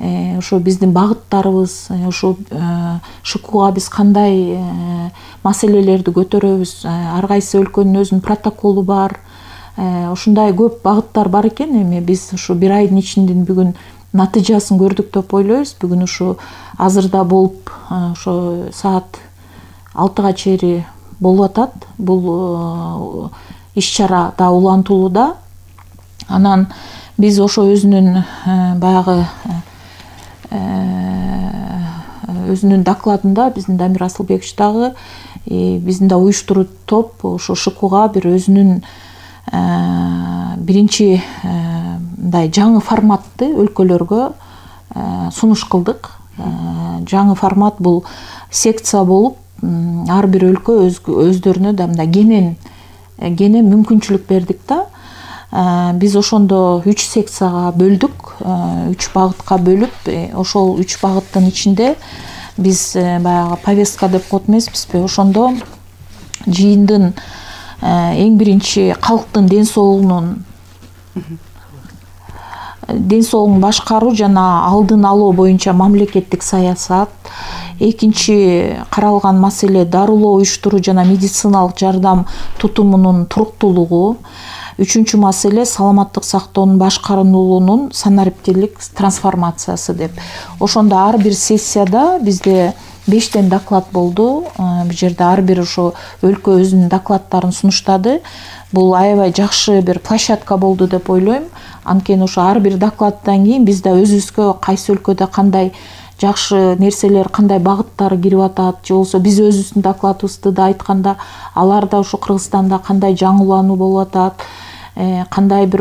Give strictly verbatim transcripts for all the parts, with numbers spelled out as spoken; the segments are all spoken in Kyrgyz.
ошо биздин багыттарыбыз, ошо ШКУга биз кандай маселелерди көтөрөбүз, ар кайсы өлкөнүн өзүнүн протоколу бар. Ушундай көп багыттар бар экен. Эми биз ушу бир айдын ичинде бүгүн натыйжасын көрдүк деп ойлойбуз. Бүгүн ушу азырда болуп, ошо саат алтыга чейин болуп атат. Бул иш-чара да улантылууда. Анан биз ошо өзүнүн баягы өзүнүн докладында биздин Дамир Асылбекович дагы биздин да уюштуруу топ ошо ШКУга бир өзүнүн биринчи мындай жаңы форматты өлкөлөргө сунуш кылдык. Жаңы формат бул секция болуп, ар бир өлкө өздөрүнө да мындай кенен кенен мүмкүнчүлүк бердик да. Биз ошондо үч секцияга бөлдүк, үч багытка бөлүп, ошол үч багыттын ичинде биз баягы повестка деп коет эмеспизби? Ошондо жыйындын эң биринчи калктын ден соолугунун ден соолугун башкаруу жана алдын алуу боюнча мамлекеттик саясат, экинчи каралган маселе дарылоо уюштуруу жана медициналык жардам тутумунун туруктуулугу, үчүнчү маселе саламаттык сактоонун башкарылуунун санариптик трансформациясы деп. Ошондо ар бир сессияда бизде бештен доклад болду. Бул жерде ар бир ошо өлкө өзүнүн докладдарын сунуштады. Бул аябай жакшы бир площадка болду деп ойлойм. Анткени ошо ар бир докладдан кийин биз да өзүбүзгө кайсы өлкөдө кандай жакшы нерселер, кандай багыттары кирип атат, же болбосо биз өзүбүздүн докладыбызды да айтканда, аларда ошо Кыргызстанда кандай жаңылануу болуп атат, кандай бир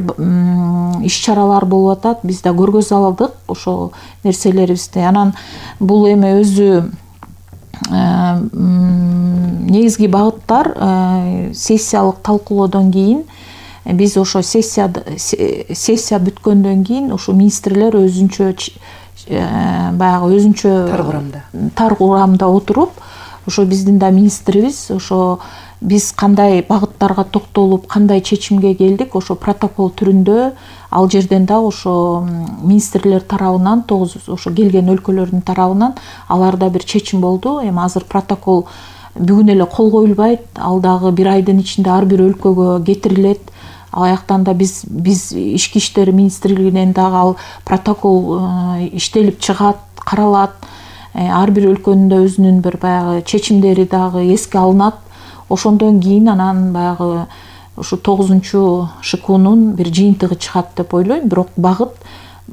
иш-чаралар болуп атат, биз да көргөзө алдык ошол нерселерибизди. Анан бул эми өзү негизги багыттар сессиялык талкуулоодон кийин биз ошо сессия сессия бүткөндөн кийин ошо министрлер өзүнчө баягы өзүнчө тар курамда тар курамда отуруп, ошо биздин да министрибиз ошо биз кандай багыттарга токтолуп, кандай чечимге келдик, ошо протокол түрүндө ал жерден да ошо министрлер тарабынан, тогуз ошо келген өлкөлөрдүн тарабынан аларда бир чечим болду. Эми азыр протокол бүгүн эле кол коюлбайт, ал дагы бир айдын ичинде ар бир өлкөгө кетирилет. Аяктан да биз биз ички иштер министрлигинен дагы ал протокол иштелип чыгат, каралат. Ар бир өлкөнүн да өзүнүн бир баягы чечимдери дагы эске алынат. Ошондон кийин анан баягы ушу тогузунчу ШКУнун бир жыйынтыгы чыгат деп ойлойм. Бирок багыт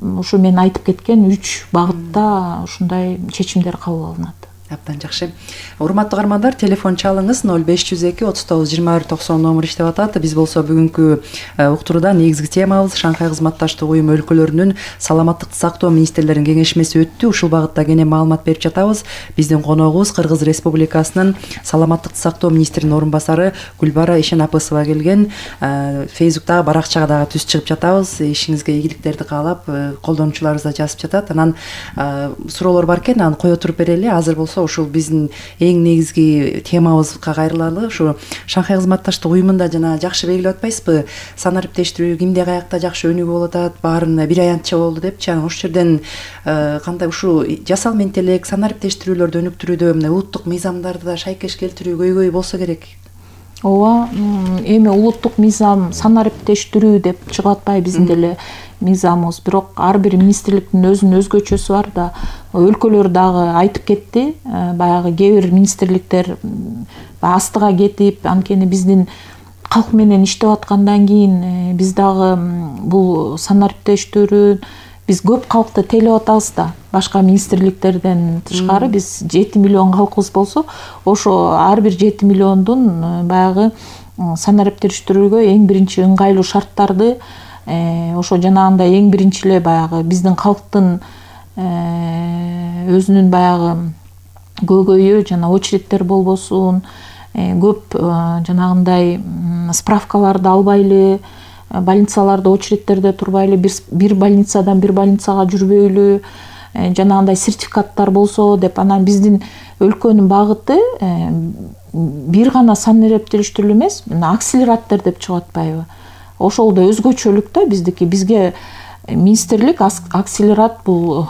ушу мен айтып кеткен үч багытта ушундай чечимдер кабыл алынат. Абдан жакшы. Урматтуу каармандар, телефон чалыңыз ноль беш жүз эки отуз тогуз жыйырма бир токсон номер иштеп атат. Биз болсо бүгүнкү уктурууда негизги темабыз Шанхай кызматташтык уюму өлкөлөрүнүн саламаттыкты сактоо министрлеринин кеңешмеси өттү. Ушул багытта кенен маалымат берип жатабыз. Биздин коногубуз Кыргыз Республикасынын саламаттыкты сактоо министринин орун басары Гүлбара Ишенапысова келген. Фейсбуктагы баракчага дагы түз чыгып жатабыз. Ишиңизге ийгиликтерди каалап, колдонуучуларыбыз да жазып жатат. Анан суроолор бар экен, аны кое туруп берели. Азыр болсо ушул биздин эң негизги темабызга кайрылалы. Ушу Шанхай кызматташтык уюмунда жана жакшы белгилеп атпайсызбы? Санариптештирүү кимде каякта жакшы өнүгүү болуп атат, баарын бир аянтча болду депчи. Анан ошол жерден кандай ушу жасал менчи элек санариптештирүүлөрдү өнүктүрүүдө мына улуттук мыйзамдарды да шайкеш келтирүү көйгөй болсо керек. Ооба, эми улуттук мыйзам санариптештирүү деп чыгып атпайбы биздин деле мыйзамыбыз, бирок ар бир министрликтин өзүнүн өзгөчөсү бар да. Өлкөлөр дагы айтып кетти, баягы кээ бир министрликтер астыга кетип, анткени биздин калк менен иштеп аткандан кийин биз дагы бул санариптештирүү биз көп калкты тейлеп атабыз да. Башка министрликтерден тышкары биз жети миллион калкыбыз болсо, ошо ар бир жети миллиондун баягы санариптештирүүгө эң биринчи ыңгайлуу шарттарды ошо жанагындай эң биринчи эле баягы биздин калктын өзүнүн баягы көйгөйү жана очередтер болбосун, көп жанагындай справкаларды албайлы, больницаларда очередтерде турбайлы, бир больницадан бир больницага жүрбөйлү, жанагындай сертификаттар болсо деп. Анан биздин өлкөнүн багыты бир гана санариптештирүү эмес, акселераттер деп чыгып атпайбы? Ошол да өзгөчөлүк да биздики. Бизге министрлик акселерат бул